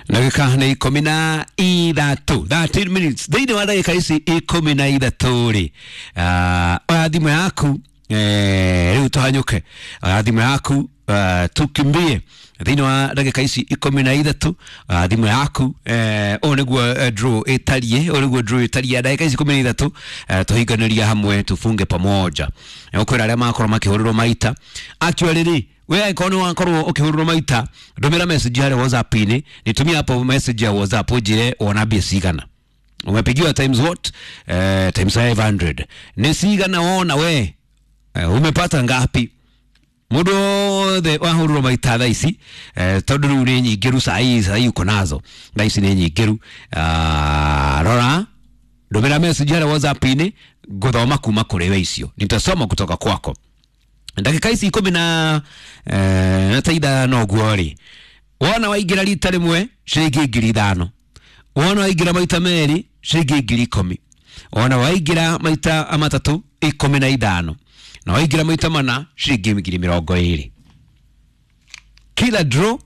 Ndagĩka nĩ 13, 13 minutes. Thĩinĩ wa ndagĩka ici 13 rĩ, oya thimũ yaku, rĩu tũhanyũke, oya thimũ yaku, tukimbie thĩinĩ wa ndagĩka ici 13. Thimũ yaku, ũũ nĩguo draw ĩtariĩ, ũũ nĩguo draw ĩtariĩ. Ndagĩka ici 13, tũhinganĩria hamwe, tufunge pamoja. Ũkwĩra arĩa makorwo makĩhũrĩrwo maita, actually rĩ, we angĩkorwo nĩ wakorwo ũkĩhũrĩrwo maita, ndũmĩra message harĩa WhatsApp-inĩ, nitumie hapo message ya WhatsApp ũnjĩre wona mbia cigana umepigiwa, times what, times 500 nĩ cigana wona we, umepata ngapi? Mũndũ wothe wahũrĩrwo maita thaa ici, tondũ rĩu nĩ nyingĩru sai sai uko nazo thaa ici nĩ nyingĩru. Rora, ndũmĩra message harĩa WhatsApp-inĩ, ngũthoma kuma kũrĩ we, icio nitasoma kutoka kwako. Ndagĩka ici ikũmi na na ta ithano ũguo rĩ, wona waingĩra rita rĩmwe ciringi 5,000, wona waingĩra maita merĩ ciringi 10,000, wona waingĩra maita matatũ 15, na waingĩra maita mana ciringi 20,000. Kila draw,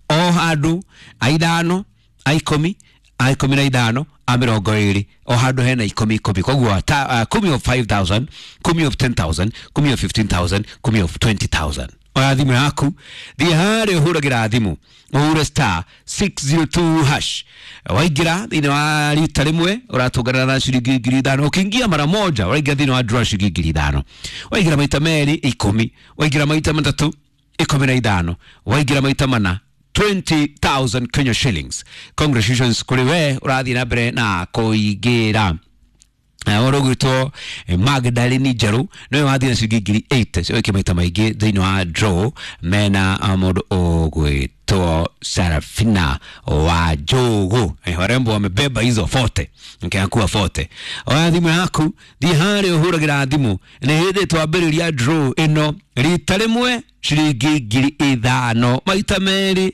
o handũ a ithano, a ikũmi, a 15, a 20, o handũ hena ikũmi ikũmi. Koguo 10 of 5000, 10 of 10,000, 10 of 15,000, 10 of 20,000. Oya thimũ yaku, thiĩ harĩa ũhũragĩra thimũ, ũhure star 602 hash. Waingĩra thĩinĩ wa rita rĩmwe ũratũngana na ciringi 5,000. Ũkĩingia mara moja ũraingĩra thĩinĩ wa draw ciringi 5,000. Waingĩra maita merĩ 10, waingĩra maita matatũ 15, waingĩra maita mana 20,000 Kenya shillings. Congratulations kũrĩ we ũrathiĩ na mbere na kũingĩra. Ũrũgwĩtwo Magdalene Njerũ nĩwe wathiĩ na ciringi 8,000 cioĩke maita maingĩ thĩinĩ wa draw, mena mũndũ ũgwĩtwo Sarafina wa Njogu. Warembo wamebeba hizo 40 nkiakua 40. Oya thimũ yaku, thiĩ harĩa ũhũragĩra thimũ, nĩ hĩndĩ twambĩrĩria draw ĩno. Rita rĩmwe ciringi 5,000, maita merĩ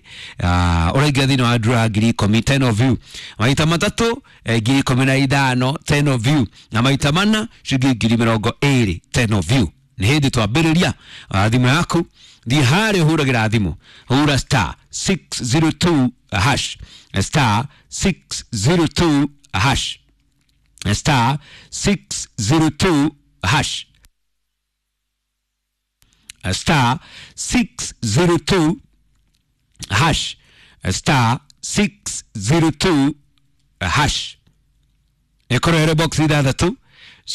ũraingĩra thĩinĩ wa draw ya 10,000, 10 of you, maita matatũ 15,000, 10 of you, na maita mana ciringi 20,000, 10 of you. Nĩ hĩndĩ twambĩrĩria. Thimũ yaku, thiĩ harĩa ũhũragĩra thimũ, hũra star 602 hash, star 602 hash, star 602 hash, star 602 hash, star 602 hash. Ĩkorwo ĩrĩ box ithathatũ,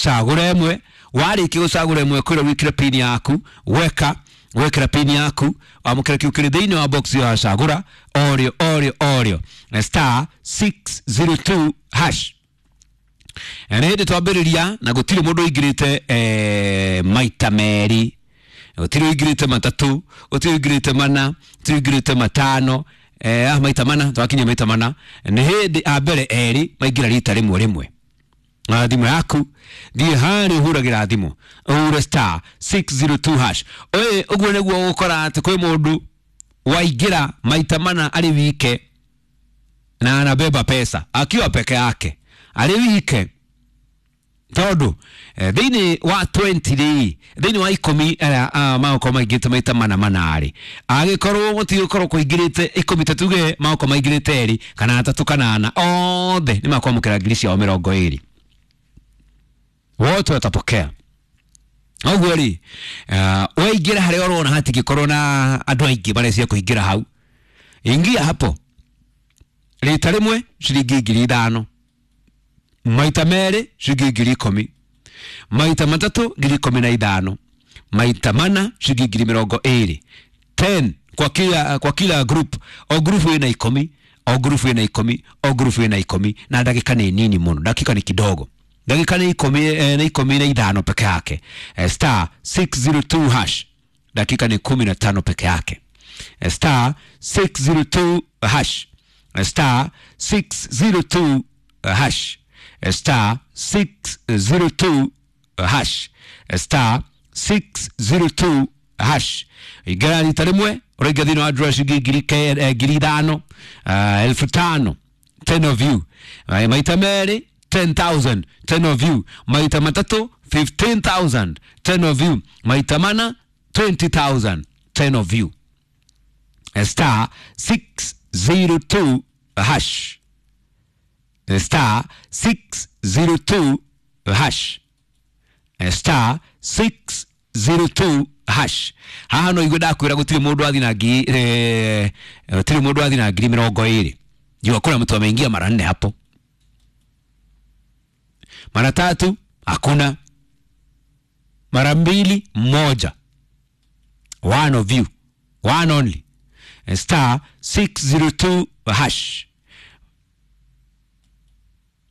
cagũra ĩmwe. Warĩkia gũcagũra ĩmwe, kwĩra wĩkĩre pin yaku, weka wekĩra pin yaku, wamũkĩra kĩu kĩrĩ thĩinĩ wa box ĩyo wacagũra orĩo orĩo orĩo, star 602 hash. Nĩ hĩndĩ twambĩrĩria na gũtirĩ mũndũ ũingĩrĩte maita merĩ, gũtirĩ ũingĩrĩte matatũ, gũtirĩ ũingĩrĩte mana, gũtirĩ ũingĩrĩte matano, maita mana twakinyia maita mana. Nĩ hĩndĩ a mbere erĩ maingĩra rita rĩmwe rĩmwe. Na thimũ yaku, thiĩ harĩa ũhũragĩra thimũ, ũhure star 602 hash. Ũyũ ũguo nĩguo ũgũkora atĩ kwĩ mũndũ waingĩra maita mana arĩ wike na anabeba pesa akiwa peke yake arĩ wike, tondũ thĩinĩ wa 20 rĩ, thĩinĩ wa 10 arĩa magokorwo maingĩrĩte maita mana mana rĩ, angĩkorwo gũtigũkorwo kũingĩrĩte 10, ta tuge magokorwo maingĩrĩte erĩ kana atatũ kana ana, othe nĩ makwamũkĩra ngiri ciao 20, wote watapokea. Ũguo rĩ, waingĩra harĩa ũrona hatingĩkorwo na andũ aingĩ marecia kũingĩra hau, ingia hapo rita rĩmwe ciringi 5,000, maita merĩ ciringi 10,000, maita matatũ 15,000, maita mana ciringi 20,000. 10 kwa kila group, o group ĩna 10, o group ĩna 10, o group ĩna 10. Na ndagĩka nĩ nini mũno, ndagĩka nĩ kidogo, ndagĩka nĩ 10, nĩ 15 peke yake. Star 602 hash, dakika ni 15 peke yake. Star 602 hash, star 602 hash, star 602 hash, star 602 hash. Ingĩra rita rĩmwe ũraingĩra thĩinĩ wa draw ciringi 5,000, 5,000, 10 of you. Maita merĩ 10,000, 10 of you, maita matatũ 15,000, 10 of you, maita mana 20,000, 10 of you, star 6 602 hash, star 602 hash, star 602 hash. Haha no igue ndakwĩra gũtirĩ mũndũ athi na ngiri gũtirĩ mũndũ athi na 20,000. Jua kuna mtu ameingia mara nne hapo, mara tatu hakuna, mara mbili moja. One of you, one only. Star 602 hash,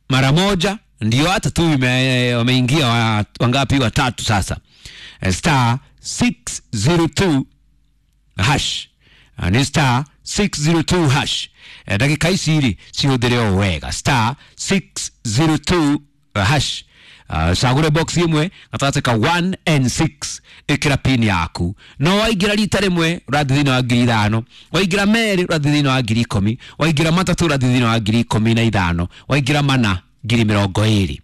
mara moja ndio hata tu wameingia wangapi? Watatu sasa. Star 602 hash. Ni star 602 hash. Ndagĩka ici rĩ cihũthĩre o wega, star 602 hash. Cagũre box ĩmwe gatagatĩ ka 1 and 6, ĩkĩra pin yaku. No waingĩra rita rĩmwe ũrathiĩ thĩinĩ wa 5,000, waingĩra merĩ ũrathiĩ thĩinĩ wa 10,000, waingĩra matatũ ũrathiĩ thĩinĩ wa 15,000, waingĩra mana 20,000.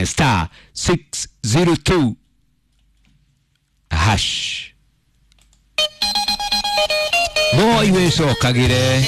Star 602 hash. Moi wĩcokagĩre.